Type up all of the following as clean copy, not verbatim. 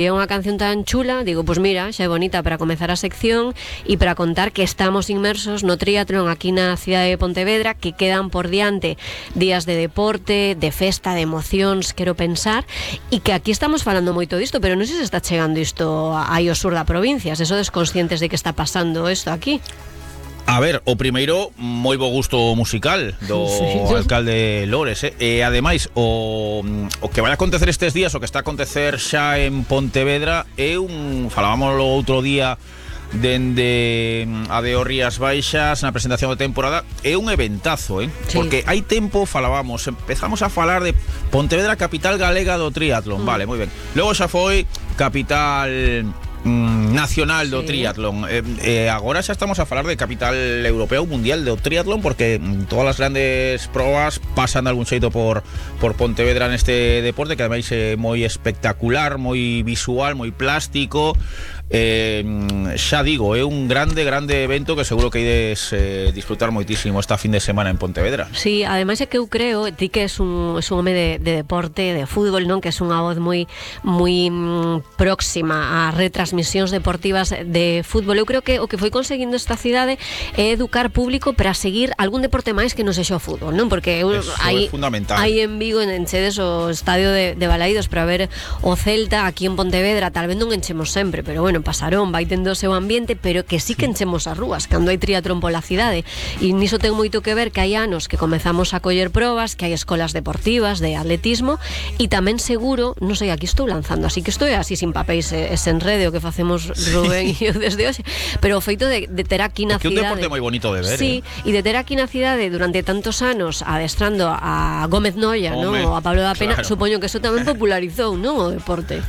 É unha canción tan chula, digo, pois mira, xa é bonita para comezar a sección e para contar que estamos inmersos no triatlón aquí na cidade de Pontevedra, que quedan por diante días de deporte, de festa, de emocións, quero pensar, e que aquí estamos falando moito disto, pero non sei se está chegando isto aí ao sur da provincia, se sodes conscientes de que está pasando isto aquí. A ver, o primeiro, moi bo gusto musical do alcalde Lores, e ademais o que vai acontecer estes días, o que está a acontecer xa en Pontevedra é falábamos o outro día dende a de Rías Baixas na presentación de temporada, é un eventazo, sí. Porque hai tempo empezamos a falar de Pontevedra, capital galega do triatlón, vale, moi ben. Logo xa foi capital nacional do triatlón, agora xa estamos a falar de capital europeo mundial do triatlón, porque todas as grandes probas pasan de algún xeito por Pontevedra neste deporte, que ademais é moi espectacular, moi visual, moi plástico. Xa digo, é un grande evento que seguro que ides disfrutar moitísimo esta fin de semana en Pontevedra. Sí, ademais é que eu creo, ti que es un home de deporte, de fútbol, non, que es unha voz moi próxima a retransmisións deportivas de fútbol. Eu creo que o que foi conseguindo esta cidade é educar público para seguir algún deporte máis que non sexa o fútbol, non? Porque é fundamental. Hai en Vigo, enchedes o estadio de Balaídos para ver o Celta, aquí en Pontevedra tal vez non enchemos sempre, pero bueno, pasarón, vai tendo o seu ambiente, pero que sí que enchemos as rúas cando hai triatlón pola cidade, e niso ten moito que ver que hai anos que comezamos a coller probas, que hai escolas deportivas de atletismo, e tamén seguro, non sei, aquí estou lanzando, así que estou así sin papéis e sen rede o que facemos Rubén e eu desde hoxe, pero o feito de ter aquí na cidade, que un deporte moi bonito de ver, sí, e de ter aquí na cidade durante tantos anos adestrando a Gómez Noia, non? Ou a Pablo da Pena, claro. Supoño que eso tamén popularizou, non, o deporte.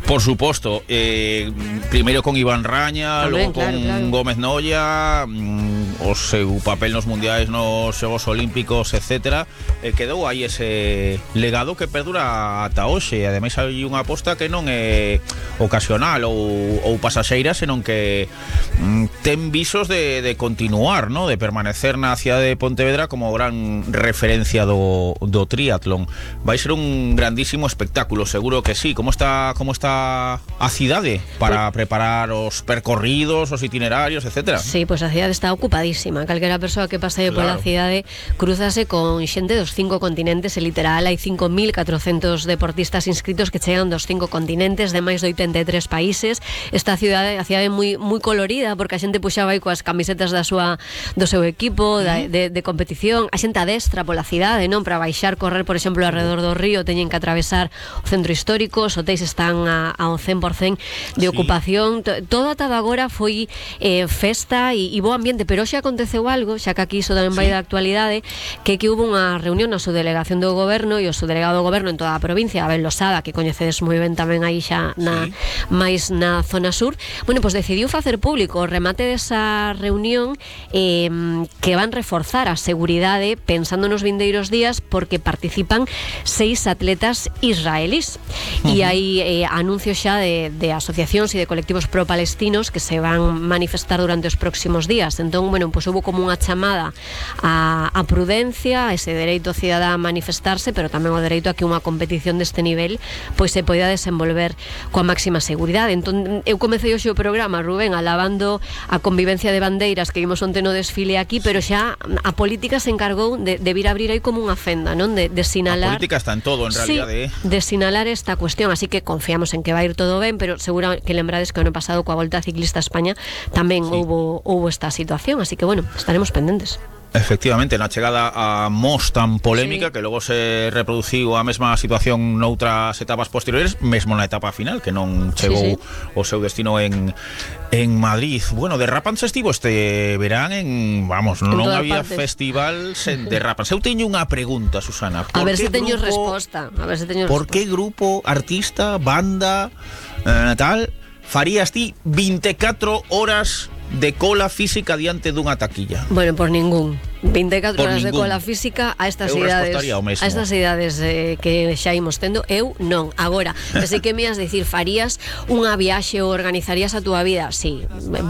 Por suposto, primeiro con Iván Raña, tamén, logo con Gómez Noia, o seu papel nos mundiais, nos Xogos Olímpicos, etcétera, quedou aí ese legado que perdura ata hoxe, e ademais hai unha aposta que non é ocasional ou pasaxeira, senón que ten visos de continuar, ¿no? De permanecer na cidade de Pontevedra como gran referencia do triatlón. Vai ser un grandísimo espectáculo, seguro que sí. Como está a cidade para preparar os percorridos, os itinerarios, etcétera? Sí, pois a cidade está ocupadísima. Calquera persoa que pase pola cidade cruzase con xente dos 5 continentes, e literal hai 5.400 deportistas inscritos que chegan dos 5 continentes, de máis de 83 países. Esta cidade, a cidade é moi colorida, porque a xente puxaba aí coas camisetas do seu equipo de competición. A xente adestra pola cidade, non? Para baixar, correr, por exemplo, alrededor do río teñen que atravesar o centro histórico, os hotéis están ao 100% de ocupación. Todo ata agora foi festa e bo ambiente, pero hoxe aconteceu algo, xa que aquí iso tamén vai da actualidade, que hubo unha reunión na subdelegación do goberno e o subdelegado do goberno en toda a provincia, Abel Losada, que coñecedes moi ben tamén aí xa máis na zona sur. Bueno, pois decidiu facer público o remate desa reunión, que van reforzar a seguridade pensando nos vindeiros días, porque participan 6 atletas israelís, e hai anuncios xa de asociacións e de colectivos pro-palestinos que se van manifestar durante os próximos días. Entón, bueno, pois houve como unha chamada a prudencia, a ese dereito cidadá a manifestarse, pero tamén o dereito a que unha competición deste nivel pois se poida desenvolver coa máxima seguridade. Entón, eu comecei hoxe o programa, Rubén, alabando a convivencia de bandeiras que vimos onte no desfile aquí, pero xa a política se encargou de vir a abrir aí como unha fenda, non? De sinalar. A política está en todo, en realidade. Sí, de sinalar esta cuestión, así que confiamos en que vai ir todo ben, pero seguro que lembrades que o ano pasado coa Volta Ciclista a España tamén houbo esta situación, así que bueno, estaremos pendentes. Efectivamente, na chegada a Mos tan polémica, que logo se reproduciu a mesma situación noutras etapas posteriores, mesmo na etapa final, que non chegou o seu destino en Madrid. Bueno, derrapanse estivo este verán non había festival sen derrapanse. Eu teño unha pregunta, Susana. A ver se teño resposta. Por que grupo, artista, banda, tal, farías ti 24 horas de cola física diante dunha taquilla? Bueno, por ningún. 24 horas de cola física a estas idades que xa imos tendo, eu non. Agora, que sei que me has dicir, farías unha viaxe ou organizarías a túa vida? Sí,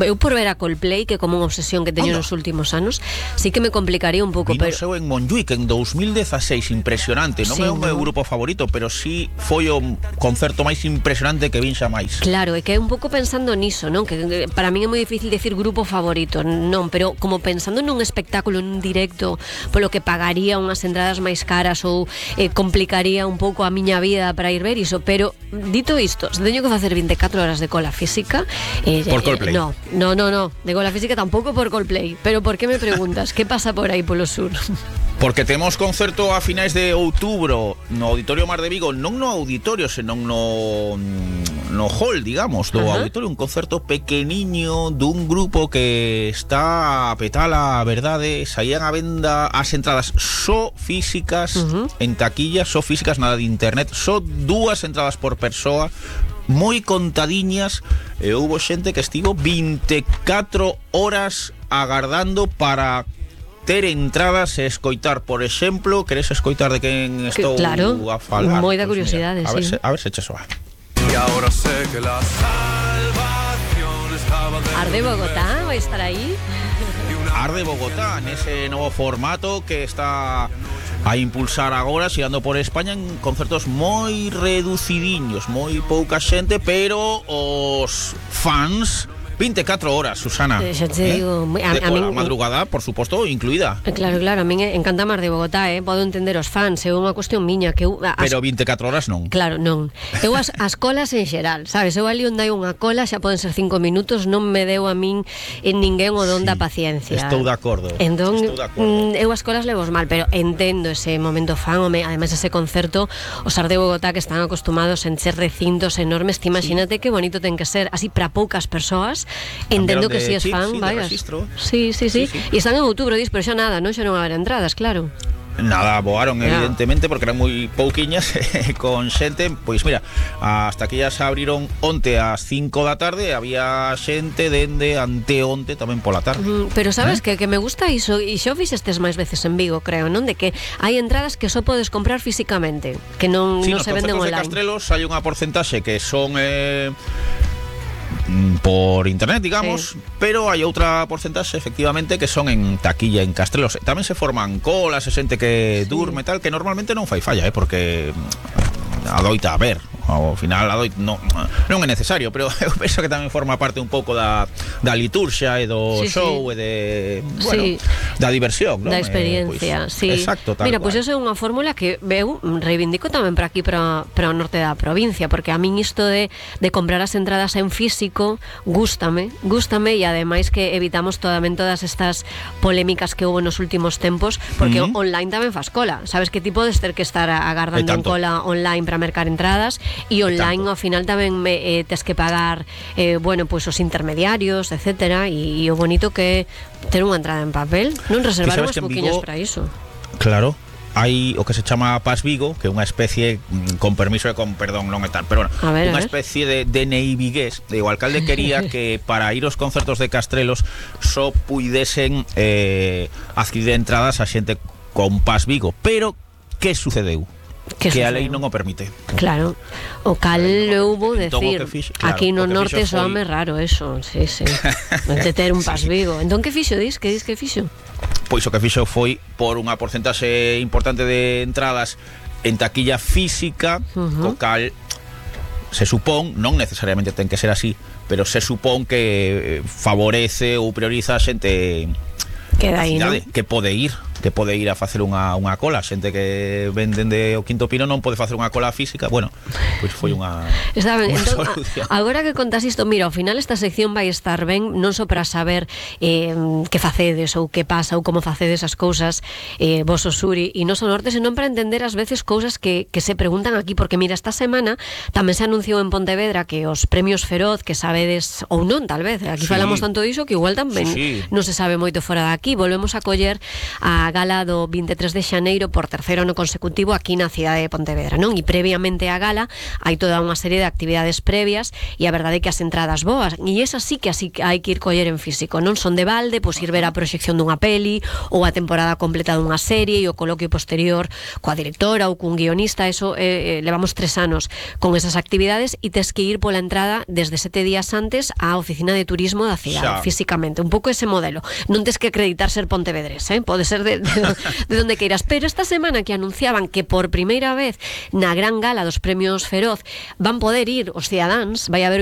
eu por ver a Coldplay, que como unha obsesión que teño nos últimos anos, sí que me complicaría un pouco. Pero seu en Montjuic en 2016, impresionante. Non é o meu grupo favorito, pero sí foi o concerto máis impresionante que vin xa máis. Claro, é que é un pouco pensando niso, non? Que para min é moi difícil decir grupo favorito, non, pero como pensando nun espectáculo, nun directo, polo que pagaría unhas entradas máis caras ou complicaría un pouco a miña vida para ir ver iso, pero dito isto, se teño que facer 24 horas de cola física por Coldplay. No, de cola física tampouco por Coldplay. Pero por que me preguntas? Que pasa por aí polo sur? Porque temos concerto a finais de outubro no Auditorio Mar de Vigo, non no auditorio, senón no hall, digamos, do auditorio, un concerto pequeniño dun grupo que está a petar a verdade. Saían a venda as entradas só físicas en taquilla, só físicas, nada de internet, só 2 entradas por persoa, moi contadiñas, e houbo xente que estivo 24 horas agardando para ter entradas e escoitar, por exemplo, queres escoitar de quen estou a falar? Moi da curiosidade, sí. A ver se che soa. Y ahora sé que la salvación estaba de Arde Bogotá vai estar aí. Arde Bogotá, nese novo formato que está a impulsar agora, xirando por España en concertos moi reducidiños, moi pouca xente, pero os fans 24 horas, Susana. Xa te digo, a min, madrugada, por suposto, incluída. Claro, a min encanta Mar de Bogotá, podo entender os fans, é unha cuestión miña que eu, pero 24 horas non. Claro, non. Eu as colas en xeral, sabes? Eu ali onde hai unha cola, xa poden ser 5 minutos, non me deu a min en ninguén o don da paciencia. Estou de acordo. Entón, eu as colas levos mal, pero entendo ese momento fan, ademais ese concerto, os Ar de Bogotá que están acostumados en ser recintos enormes, ti imagínate que bonito ten que ser, así para poucas persoas. Entendo que si es fan, vayas. Sí. E están en outubro, pero xa nada, non? Xa non haber entradas, claro. Nada, voaron evidentemente porque eran moi pouquiñas con xente. Pois mira, hasta que ya se abriron onte ás 5 da tarde, había xente dende anteonte tamén pola tarde. Pero sabes que me gusta iso, e xa o fixestes máis veces en Vigo, creo, non? De que hai entradas que só podes comprar físicamente, que non se venden online. De Castrelos hai unha porcentaxe que son por internet, digamos, pero hai outra porcentaxe efectivamente que son en taquilla en Castrelos. Tamén se forman colas, se xente que durme tal, que normalmente non fai falla, porque adoita a ver. Ao final non é necesario, pero eu penso que tamén forma parte un pouco da liturxia e do show e de, da diversión, non? Da experiencia, Exacto, tal Mira, cual. Pois iso é unha fórmula que eu reivindico tamén para aquí, para o norte da provincia, porque a min isto de comprar as entradas en físico gústame, e ademais que evitamos todas estas polémicas que houve nos últimos tempos, porque online tamén fas cola, sabes que ti podes ter que estar agardando en cola online para mercar entradas, e online ao final tamén tes que pagar os intermediarios, etcétera, e o bonito que ter unha entrada en papel, non reservar unhas pouquiñas para iso. Claro. Hai o que se chama Pas Vigo, que é unha especie, con permiso e con perdón, non é tal, pero unha especie de DNI vigués. O alcalde quería que para ir aos concertos de Castrelos só puidesen adquirir entradas a xente con Pas Vigo, pero que sucedeu? Que a lei non o permite. Claro, o cal houbo decir, aquí no norte soame raro eso, de ter un Pas Vigo. Entón que fixo, dis? Que dis que fixo? Pois o que fixo foi por unha porcentaxe importante de entradas en taquilla física, co cal se supón, non necesariamente ten que ser así, pero se supón que favorece ou prioriza a xente que pode ir a facer unha cola. Xente que venden de o Quinto Pino non pode facer unha cola física. Bueno, pois foi unha solución. Agora que contas isto, mira, ao final esta sección vai estar ben non só para saber que facedes ou que pasa ou como facedes as cousas vos o sur e nos o norte, senón para entender ás veces cousas que se preguntan aquí, porque mira, esta semana tamén se anunciou en Pontevedra que os premios Feroz, que sabedes ou non, tal vez, aquí falamos tanto diso que igual tamén non se sabe moito fora de aquí. Volvemos a coller a gala do 23 de xaneiro por terceiro ano consecutivo aquí na cidade de Pontevedra, non? E previamente á gala hai toda unha serie de actividades previas e a verdade é que as entradas boas, e esas sí que así hai que ir coller en físico, non son de balde, pois ir ver a proxección dunha peli ou a temporada completa dunha serie e o coloquio posterior coa directora ou cun guionista. Eso levamos 3 anos con esas actividades e tes que ir pola entrada desde 7 días antes á oficina de turismo da cidade, físicamente, un pouco ese modelo. Non tes que acreditar ser pontevedrés, pode ser de donde queiras, pero esta semana que anunciaban que por primeira vez na gran gala dos premios Feroz van poder ir os cidadáns, vai haber